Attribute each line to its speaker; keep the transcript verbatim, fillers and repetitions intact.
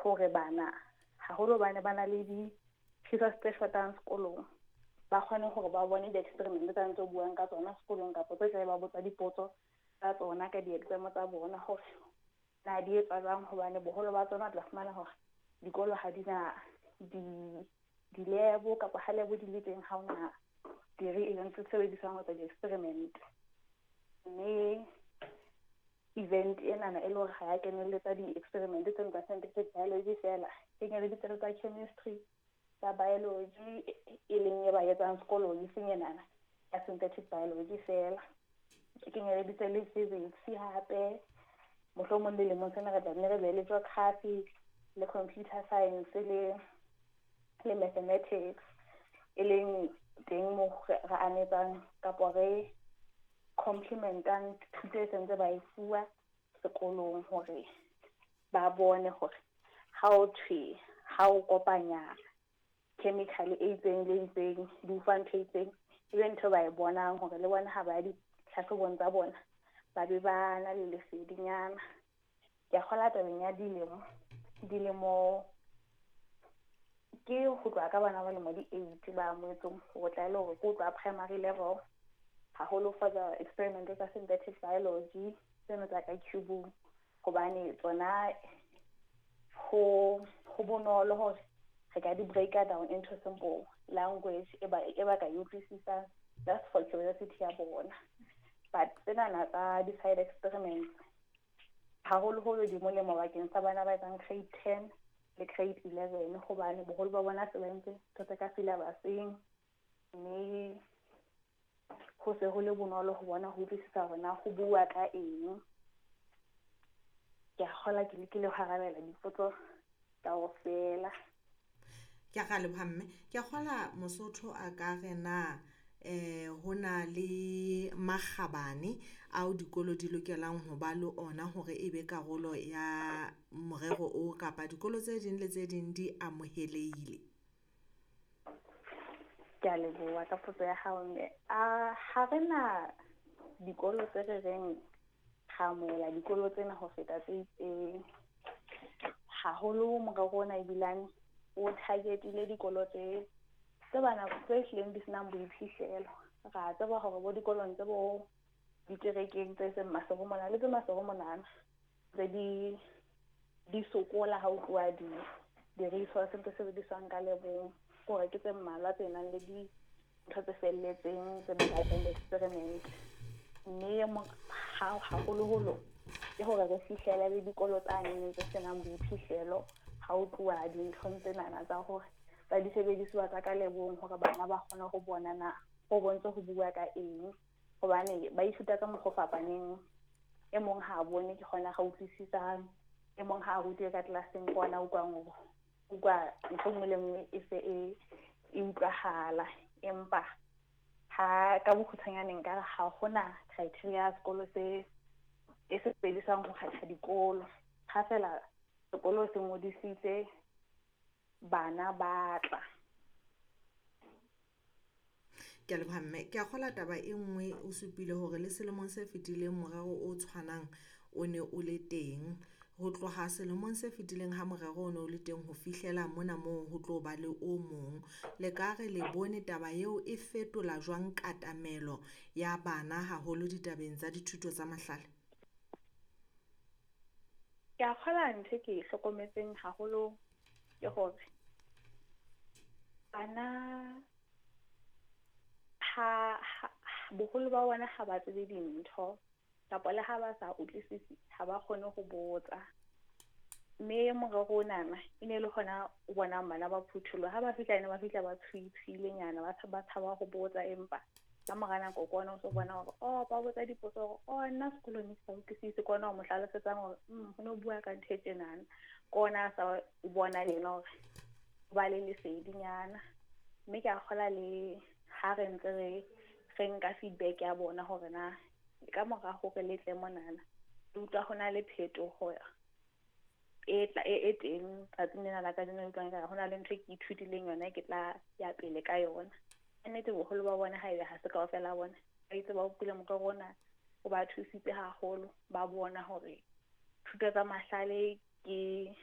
Speaker 1: Hore bana haholo bana ba na le di-resource tse shotang sekolong, ba kgone hore ba bone di-experiment tsa ntse buang ka tsona sekolong kapa tse tla ba botsa dipotso tsa tsona ka di-exam tsa bona hore na di etswa jwang, hobane boholo ba tsona tla fumana hore dikolo ha di na di di-lab kapa ha lab di le teng ha hona di-reagents tse sebediswang ho etsa di-experiment. Mme event enana e le hore ha ya kenelletsa di-experiment tseno tsa scientific biology fela, kenyeleditse le tsa chemistry, tsa biology e leng e ba etsang sekolong, e seng enana ya synthetic biology fela. E kenyeleditse le physics hape, mohlomong dilemong tsena re tla nne re be le geography le computer science le le mathematics, e leng teng mo re anetsang kapa re complementang thuto e sentse ba e fuwa sekolong hore ba bone hore ha o thwe ha o kopanya chemical e itseng le itseng di o fa ntho e itseng, e be ntho ba e bonang hore le bona ha ba ya ditlhahlobong tsa bona ba be ba na le lesedinyana. Ke a kgola tabeng ya dilemo, dilemo ke ho tloha ka bana ba lemo di eight ba amohetsweng ho tla e le hore ke ho tloha primary level, haholo for the experiment tsa synthetic biology tseno tsa ka cube-ung, hobane tsona ho ho bonolo hore re ka di break-a down into simple language e ba e ba ka e utlwisisang just for curiosity ya bona. But tsenana tsa di-side experiments haholoholo di molemo bakeng sa bana ba etsang grade ten le grade eleven, hobane boholo ba bona se ba entse ntho tse ka syllabus-eng, mme ho se ho le bonolo ho bona ho utlwisisa hore na ho bua ka eng. Ke a kgolwa ke lekile ho arabela dipotso kaofela.
Speaker 2: Ke a leboha mme. Ke a kgola Mosotho a ka re na eh ho na le makgabane ao dikolo di lokelang ho ba le ona hore e be karolo ya morero o, kapa dikolo tse ding le tse ding di amohelehile?
Speaker 1: Ke a leboha ka potso ya hao mme. A ha re na dikolo tse re reng ra amohela dikolo tsena ho feta tse itseng. Haholo morero ona ebilane o target-ile dikolo tse tse bana tse hlileng di senang boiphihlelo. Ra tseba hore bo dikolong tse bo dikerekeng tse seng Maseru mona le tse Maseru monana tse di di sokola ha o tloha di di-resource tse sebediswang ka lebong, hore ke tse mmalwa tse nang le dintho tse felletseng tse batlang experiment. Mme ha haholoholo ke hore re fihlele le dikolo tsane tse senang boiphihlelo ha o tloha dinthong tsenana tsa hore tsa disebedisuwa tsa ka lebong, hore bana ba kgone ho bona na ho bontse ho bua ka eng, hobane ba ithuta ka mokgwa o fapaneng. E mong ha a bone ke kgona ga utlwisisang, e mong ha a rutwe ka tlelaseng ke ona utlwang hore utlwa ntho e nngwe le nngwe e se e e utlwahala. Empa ha ka bokgutshwanyane nka re ha hona criteria ya sekolo se e sebediswang ho kgetha dikolo. Ha fela sekolo se ngodisitse bana ba tla.
Speaker 2: Ke a leboha mme. Ke a kgola taba e nngwe o supile hore le selemong se fetileng morero o tshwanang o ne o le teng. Ho tloha selemong se fetileng ha morero o ne o le teng ho fihlela mona moo ho tlo ba le o mong. Le ka re le bone taba eo e fetola jwang katamelo ya bana haholo ditabeng tsa dithuto tsa mahlale?
Speaker 1: Ke a kgola ntho e ke e hlokometseng haholo ke hore bana ha, ha boholo ba bona ha ba tsebe dintho kapa le ha ba sa utlwisisi ha ba kgone ho botsa. Mme morero onana e ne le hona o bonang bana ba phutholoha, ha ba fihla ene ba fihla ba tshuitshuilenyana, ba tshaba, tshaba ho botsa, empa ka mora nako ke ona o so bona hore oh ba botsa dipotso hore oh nna sekolong ke sa utlwisise, ke ona o mo hlalosetsang hore mm ho no bua ka ntho e tjenana, ke ona a sa o bona le yena hore o ba le lesedinyana. Mme ke a kgola le ha re ntse re re nka feedback ya bona hore na ka mora hore le tle monana le utlwa ho na le phetoho e tla e, e teng tsatsing lena la kajeno, le utlwang ekare ho na le ntho e ke ithutileng yona ke tla ya pele ka yona. Ka nnete boholo ba bona haebe ha se kaofela bona ba itse ba utlwile morero ona o ba thusitse haholo, ba bona hore thuto tsa mahlale ke